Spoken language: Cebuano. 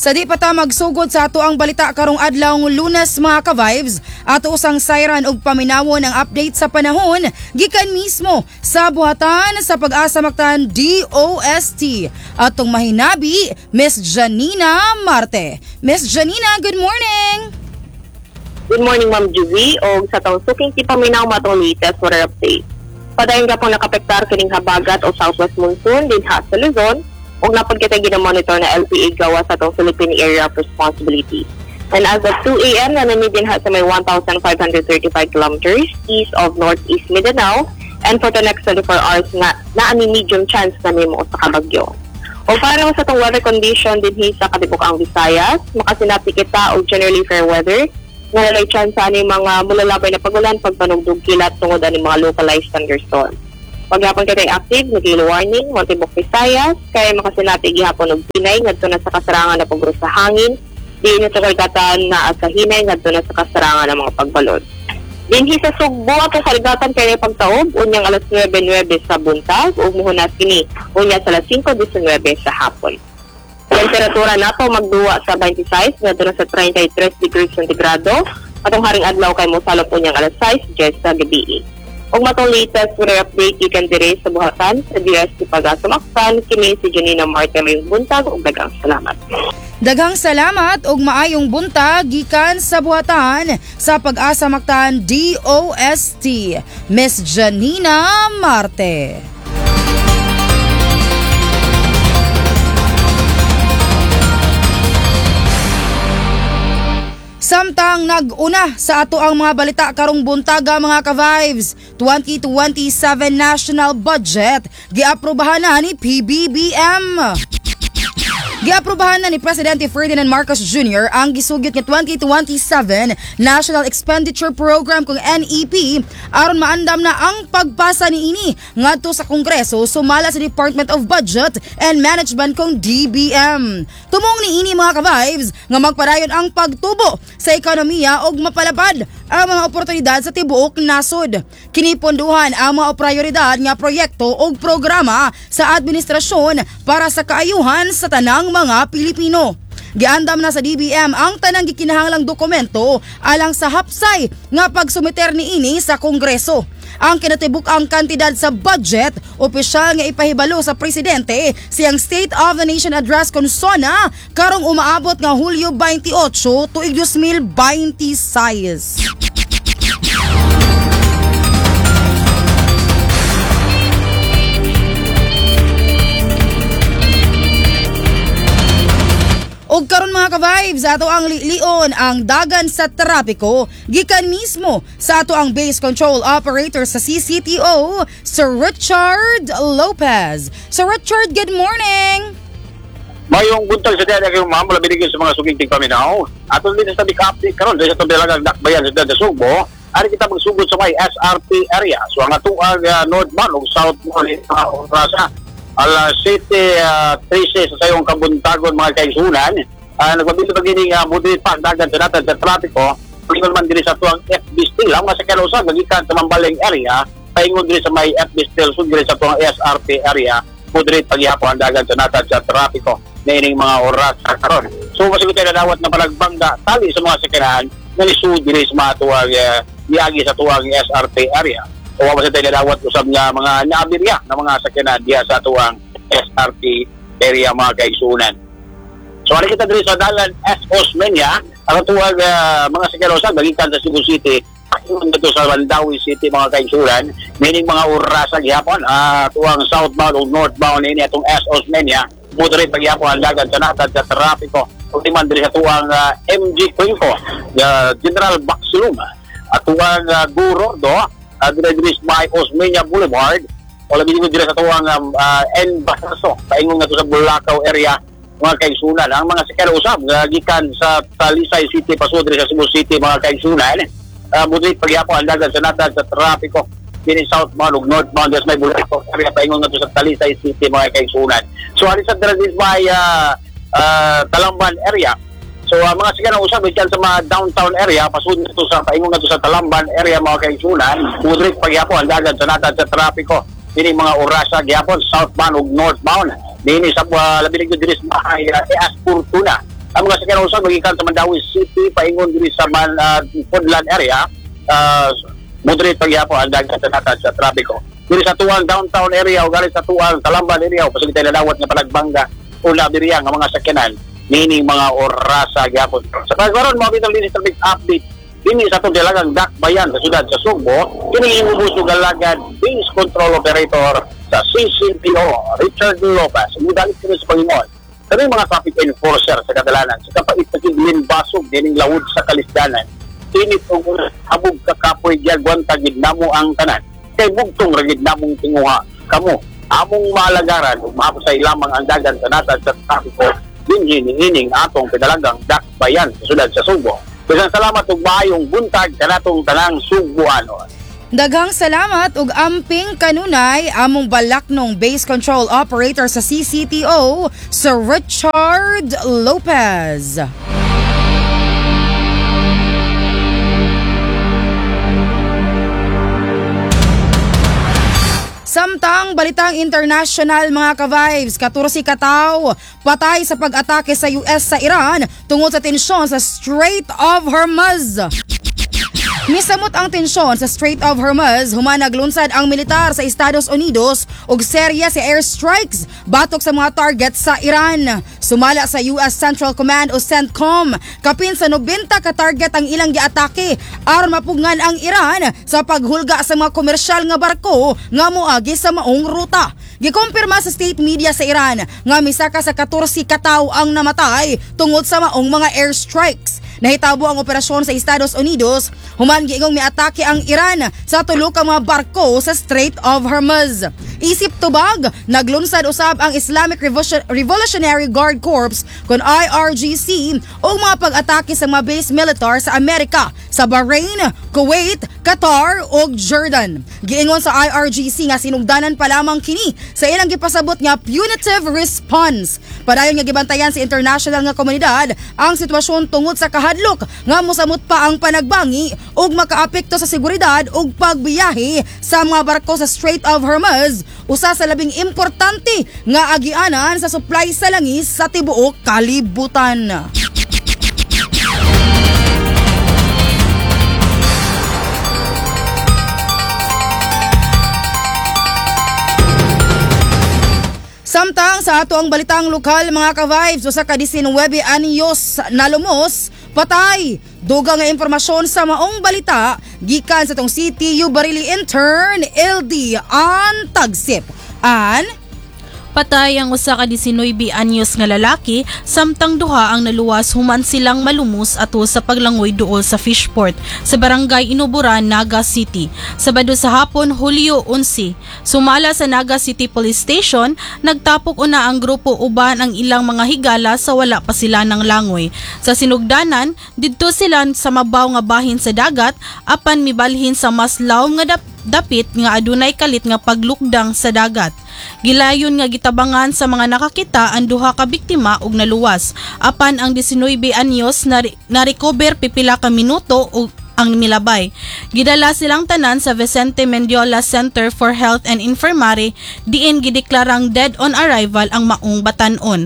Sa di pa ta magsugod sa ato ang balita karong adlaw Lunes mga ka-vibes, ato usang sayran og paminawon ang update sa panahon gikan mismo sa buhatan sa Pag-asa Mactan DOST. Atong mahinabi, Miss Janina Marte. Miss Janina, good morning! Good morning, Ma'am Juvie, og sa taong suking tipaminaw matong latest weather update. Padayon ka pong nakapektar kining habagat o southwest monsoon dinha sa Luzon ug napod kita gina-monitor na LPA gawa sa atong Philippine Area of Responsibility. And as of 2 a.m., nanani dinha sa may 1,535 kilometers east of northeast Mindanao, and for the next 24 hours nga naani medium chance na nimo sa kabagyo. O para naman sa itong weather condition dinhi sa Katibukang Visayas, makasinati kita og generally fair weather nga nalay chance ani mga mulalabay na pagulan pagpanugdog kilat tungod ani mga localized thunderstorm. Paghapon kitay active nga gale warning mo tibok Visayas kay makasinati gihapon og pinay ngadto na sa kasarangan na pagro sa hangin diin sa kargatan naa sa hinay ngadto na sa kasarangan ng mga pagbalod. Dinhi sa Sugbo atong kaligatan kay pagtaob unyang alas 9:09 sa buntag ug muhunas kini unya sa alas 5:19 sa hapon. Temperatura nato magduwa sa 26 ngadto na sa 33 degrees centigrado atong haring adlaw kay mosalop unyang alas 6:10 sa gabi. Ug matong latest weather update gikan diri sa buhatan sa DOST Pag-asa Mactan, kini si Janina Marte, mayong buntag ug daghang salamat. Daghang salamat ug maayong buntag gikan sa buhatan sa Pag-asa Mactan DOST, Miss Janina Marte. Samtang nag-una sa ato ang mga balita karong buntaga mga ka-vibes, 2027 National Budget giaprobahan na ni PBBM. Giaprobahan na ni Presidente Ferdinand Marcos Jr. ang gisugyot nga 2027 National Expenditure Program kung NEP aron maandam na ang pagpasa niini ngadto sa Kongreso sumala sa Department of Budget and Management kung DBM. Tumong niini mga ka-vibes nga magpadayon ang pagtubo sa ekonomiya ug mapalapad ang mga oportunidad sa tibuok nasod. Kiniponduhan ang mga prioridad nga proyekto ug programa sa administrasyon para sa kaayuhan sa tanang mga Pilipino. Giandam na sa DBM ang tanang gikinahanglang dokumento alang sa hapsay nga pagsumiter niini sa Kongreso. Ang kinatibuk-ang kantidad sa budget opisyal nga ipahibalo sa presidente siyang State of the Nation Address kon SONA karong umaabot nga Hulyo 28 tuig 2026. Og karon mga ka-vibes, ato ang lilion ang dagan sa trapiko gikan mismo sa ato ang base control operator sa CCTO, Sir Richard Lopez. Sir Richard, good morning! Mayong buntag sa dyan kayong ma'am, labi din sa mga suging tigpaminaw. Ato din sa tabik update karon dahil sa tabilagang dakbayan sa dyan sa Sugbo, ari kita magsugod sa may SRP area. So ang atuang northbound o southbound orasa alas 7:13 sa sayong kabuntagon mga kaigsunan. Nagpabili pa gini nga moderate pa dagan sa natad sa trapiko. Paingon man diri sa tuang FB Steel. Ang mga sakyan usab nagikan sa Mambaling area, paingon diri sa may FB Steel, sud diri sa tuang SRP area, moderate paghihapon ang dagan sa natad sa trapiko niining mga oras sa karon. So masigot tayo nadawat na palagbangga tali sa mga sakyanan nga lisod diri sa mga tuang iagi sa tuang SRP area. O wa tayo nadawat usab nga mga naabirya na mga sakyanan diha sa tuang SRP area mga kaigsunan. So ari kita diri sa dalan S. Osmeña, ang tuwag mga sakyanan usab gikan sa Cebu City dito sa Mandaue City mga kaigsunan, meaning mga orasa gihapon tuwang southbound o northbound ini atong S. Osmeña, moderate paghihapon ang dagan sa natad sa trapiko. Ug man diri sa tuwang MG Cuenco, General Baxilum, at tuwang Gorordo, diri sa may Osmeña Boulevard, o labi din diri sa tuwang N. Basaso, paingon nga to sa Bulacau area mga kaigsunan. Ang mga sakyan usab gikan sa Talisay City pasud diri sa Cebu City mga kaigsunan, moderate paghihapon ang dagan sa natad sa trapiko dinhi southbound ug northbound sa may Bulacau area paingon nga to sa Talisay City mga kaigsunan. So ari sa diri may Talamban area. So mga sakyan usab gikan sa mga downtown area pasud nito sa paingon nga to sa Talamban area mga kaigsunan, moderate paghihapon ang dagan sa natad sa trapiko dinhi mga orasa gihapon southbound ug northbound dinhi sa labi diri sa may AS Fortuna. Ang mga sakyanan usab magikan sa Mandaue City paingon diri sa Pudlan area, moderate pagyapon ang dagan sa natad sa trapiko. Diri sa tuang downtown area o galit sa tuang Talamban area o pasig tayo nadawat nga panagbangga o labiriya nga mga sakyanan nining mga orasa gyapon. Sa pagkaron mo bitang dinhi sa traffic update dinhi sa atong dalagang dakbayan sa syudad sa Sugbo, kini imong galagad base control operator sa CCPO, Richard Lopez. Mudalit kini sa Panginoon. Kami mga traffic enforcer sa kadalanan, sa kapait sa basog dining lawod sa kalisdanan, init og habog kakapoy gyagwanta gid namo ang tanan. Kay bugtong ra gid namong tinguha kamo among maalagaran ug mahaposay lamang ang dagan sa natad sa trapiko dinhi niining atong pinalagang dakbayan sa syudad sa Sugbo. Daghang salamat ug maayong buntag kanatong tanang Sugboanon. Daghang salamat ug amping kanunay among balaknong base control operator sa CCTO, Sir Richard Lopez. Samtang balitang international, mga ka-vibes, 14 kataw patay sa pag-atake sa US sa Iran tungod sa tensyon sa Strait of Hormuz. Misamot ang tensyon sa Strait of Hormuz human naglunsad ang militar sa Estados Unidos og serya sa airstrikes batok sa mga target sa Iran. Sumala sa US Central Command o CENTCOM, kapin sa 90 ka target ang ilang giatake aron mapugngan ang Iran sa paghulga sa mga komersyal nga barko nga moagi sa maong ruta. Gikumpirma sa state media sa Iran nga misaka sa 14 kataw ang namatay tungod sa maong mga airstrikes. Nahitabo ang operasyon sa Estados Unidos human giingong miatake ang Iran sa tulo ka mga barko sa Strait of Hormuz. Isip tubag, naglunsad usab ang Islamic Revolutionary Guard Corps kon IRGC og mga pag-atake sa mga base militar sa Amerika sa Bahrain, Kuwait, Qatar ug Jordan. Giingon sa IRGC nga sinugdanan pa lamang kini sa ilang gipasabot nga punitive response. Padayon nga gibantayan sa international nga komunidad ang sitwasyon tungod sa kahadlok nga mosamot pa ang panagbangi ug makaapekto sa seguridad ug pagbiyahe sa mga barko sa Strait of Hormuz, usa sa labing importante nga agianan sa supply sa langis sa tibuok kalibutan. Samtang sa ato ang balitang lokal, mga ka-vibes, usa ka 19 anyos nalumos, patay. Dugang nga impormasyon sa maong balita gikan sa tong CTU Barili intern LD An Tagsip. An? Patay ang usa ka 19 anyos nga lalaki samtang duha ang naluwas human silang malumos ato sa paglangoy duol sa fishport sa barangay Inuburan, Naga City. Sabado sa hapon, Hulyo 11, sumala sa Naga City Police Station, nagtapok una ang grupo uban ang ilang mga higala sa wala pa sila ng langoy. Sa sinugdanan, didto sila sa mabaw nga bahin sa dagat apan mibalhin sa mas lawom nga dapit nga adunay kalit nga paglukdang sa dagat. Gilayon nga gitabangan sa mga nakakita ang duha ka biktima og naluwas. Apan ang 19 anyos na-recover pipila ka minuto og ang milabay. Gidala silang tanan sa Vicente Mendiola Center for Health and Infirmary diin gideklarang dead on arrival ang maong batan-on.